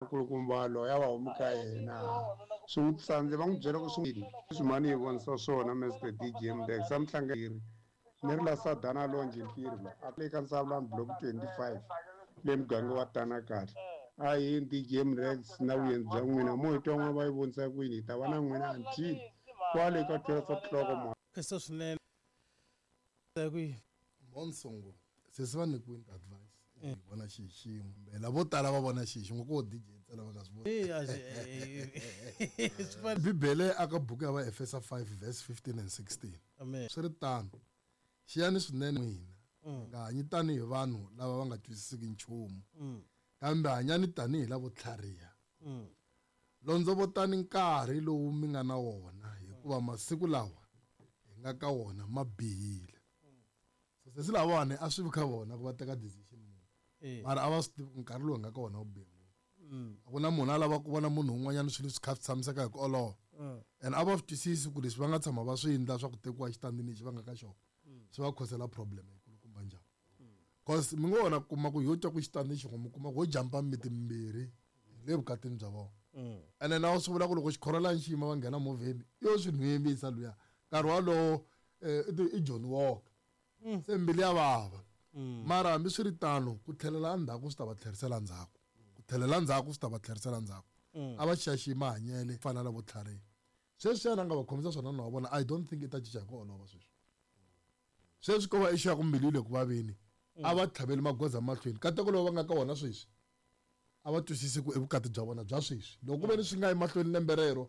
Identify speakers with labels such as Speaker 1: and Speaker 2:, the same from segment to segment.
Speaker 1: Nkulukumba loyi a va humi ka yena swi n'wi tsandze va n'wi byela ku swi leswi mhani yi vonisa swona Mr DJ Mdex a muhlangeri ni ri la Sadana Lonje Mpiri la a le ka Nsavulani block 25 le muganga wa Tana kahle a yini DJ Mrex na vuyenzi bya n'wina mo hi twa n'wana va yi vonisa kwini hi ta va na n'wina until kwale ka 12 o'clock ma
Speaker 2: Khensa swinene. Ku yini?
Speaker 3: Monsongo sesi va nyikiwini advice hi vona xi hi xin'we kumbe lavo tala va vona xi hi xin'we ko DJ ntsena va nga swi voni
Speaker 2: Eh, a xi- eh, eh, swi fana-
Speaker 3: Bibele aka buku ya Vaefesa 5 verse 15 and 16
Speaker 2: Amen.
Speaker 3: swi ri tano xiyani swinene n'wina mi nga hanyi tanihi vanhu lava va nga twisisiki nchumu kambe hanyani tanihi lavo tlhariha londzovotani nkarhi lowu mi nga na wona hikuva masiku lawa hi nga ka wona ma bihile so sesi lavawani a swi vi ka vona ku va teka decision muni
Speaker 2: Eh.
Speaker 3: mara a va swi tivi ku nkarhi lowu hi nga ka wona wu bihe ngopfu a ku na munhu a lava ku vona munhu un'wanyana swilo swi kha swi tshamiseka hi ku olova and a va swi twisisi ku leswi va nga tshama va swi endla swa ku tekiwa xitandini lexi va nga ka xona swi va khosela problem yikulukumba njhani cause mi ngo wona kuma ku yo twa ku xitandi xin'we mi kuma ku ho jampa miti mimbirhi hi le vukatini bya vona ene na swi vula ku loko xikhorolani xi yima va nghena movheni yo swi nhwembisa luya nkarhi walowo i Johnny Walker se mbilu ya vava mara hambi swi ri tano ku tlhelela endzhaku swi ta va tlherisela ndzhaku ku tlhelela ndzhaku swi ta va tlherisela ndzhaku a va xaxi mahanyele fana na vo tlhariha sweswi yena a nga va khomisa swona na wa vona i don't think i ta cinca hi ku olova sweswi sweswi ko va ixu ya ku mbilu yi le ku vaveni a va tlhaveli magoza mahlweni kateko lowu va nga ka wona sweswi a va twisisi ku i vukati bya vona bya sweswi loko ku ve ni swi nga yi mahlweni lembe rero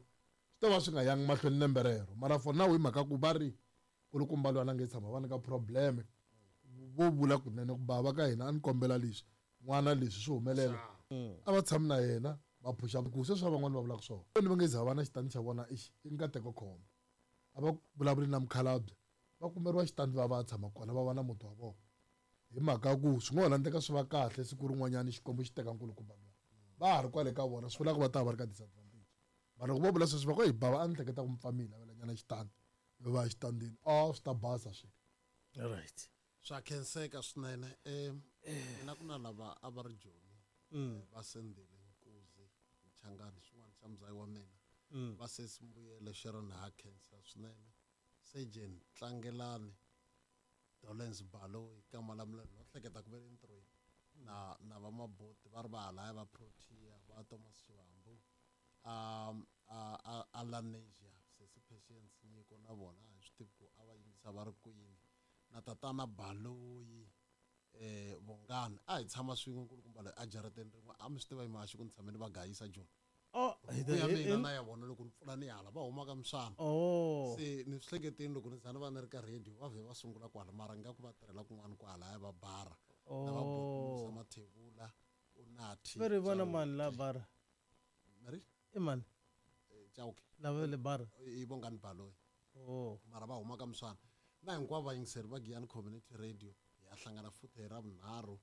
Speaker 3: swi ta va swi nga yangi mahlweni lembe rero mara for now hi mhaka ku va ri kulukumba loyi a nge tshama va nyika probleme vo vula kunene ku bava ka hina a ni kombela leswi n'wana leswi swi humelela a va tshami na yena va phusha ku sweswi va van'wani va vulaka swona ni va nge za va na xitandi xa vona ixi i nkateko khombo a va vulavuli na mukhalabye va kumeriwa xitandi va va tshama kona va va na muti wa vona hi mhaka ku swi ngo ho landleka swi va kahle siku rin'wanyana xikwembu xi teka nkulukumba luya va ha ri kwale ka vona swi vula ku va ta va ri ka disadvantage mara loko vo vula sweswi va ku hi bava a ni hleketa ku mi pfa mi hi lavelanyana xitandi mi va xitandini a swi ta basa swilo
Speaker 2: right
Speaker 4: swa khenseka swinene um mina ku na lava a va ri joni va sendile nkuzi mchangani xin'wana xa muzayi wa mina va sesi mbuyelo sharon ha khensa swinene surgeon tlangelani dolens baloyi ka malamulelo no hleketa ku ve le ntirhweni na na va maboti va ri va halaya va protea va thomas xivambu um a alanesia sesi patience nyiko na vona a hi swi tivi ku a va yingisa va ri kwini na tatana baloyi eh vongani a hi tshama swin'we nkulukumba loyi a jarateni rin'we a mi swi tiva hi mhaxi ku ni tshame ni va gayisa joni
Speaker 2: oh
Speaker 4: buku ya mina na ya vona loko ni pfula ni hala va huma ka misana
Speaker 2: oh
Speaker 4: se ni swi hleketeni loko ni za ni va ni ri ka radio va vhe va sungula kwala mara nga ku va tirhela kun'wana kwalaya va bara na va
Speaker 2: Oh.
Speaker 4: Musa Mathebula unathi
Speaker 2: va ri vona mani la bara
Speaker 4: mari
Speaker 2: i mani
Speaker 4: Chauke
Speaker 2: lava le bara
Speaker 4: i Bongani Baloyi
Speaker 2: oh
Speaker 4: mara va huma ka miswana na hinkwavo vayingiseri va Giyani Community Radio hi ya hlangana futhi hi ra vunharhu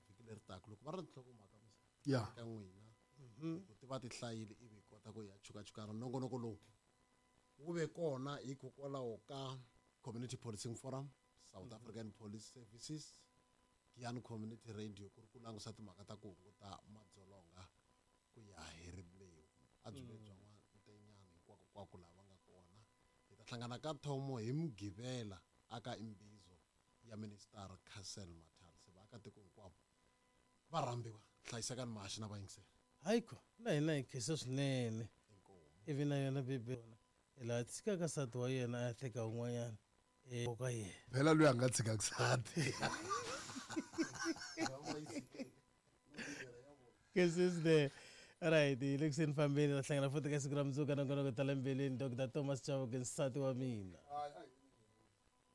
Speaker 4: vhiki leri taka loko va ri na tinhlokomhaka misa
Speaker 3: ya
Speaker 4: ka n'wina ku ti va ti hlayile ivi hi kota ku ya chukachukana nongonoko lowu wu ve kona hikokwalaho ka community policing forum south african police services Giyani Community Radio ku ri ku langusa timhaka ta ku hunguta madzolonga ku ya hi rimbewu a byi ve bya n'wantenyani hinkwakokwako laha va nga kona hi ta hlangana ka thomo hi mugqivela aka imbizo ya minister Cassel Mathal se vaakatiko hinkwavo va rhambiwa hlayisekani mahaxi na vayingiseri
Speaker 2: hayiko na hina hi khensa swinene
Speaker 4: inkomu
Speaker 2: ivi na yona bebe hi laha tshikaka nsati wa yena a ya teka un'wanyana ka yena
Speaker 3: phela loyi a nga tshikaka nsati
Speaker 2: Kisses there. Right, hi le kuseni fambeni ta hlangana futhi ka siku ra mundzuku ka nongonoko ta le mbilwini Dr. Thomas Chauke nsati wa mina.
Speaker 3: Hayi, hayi.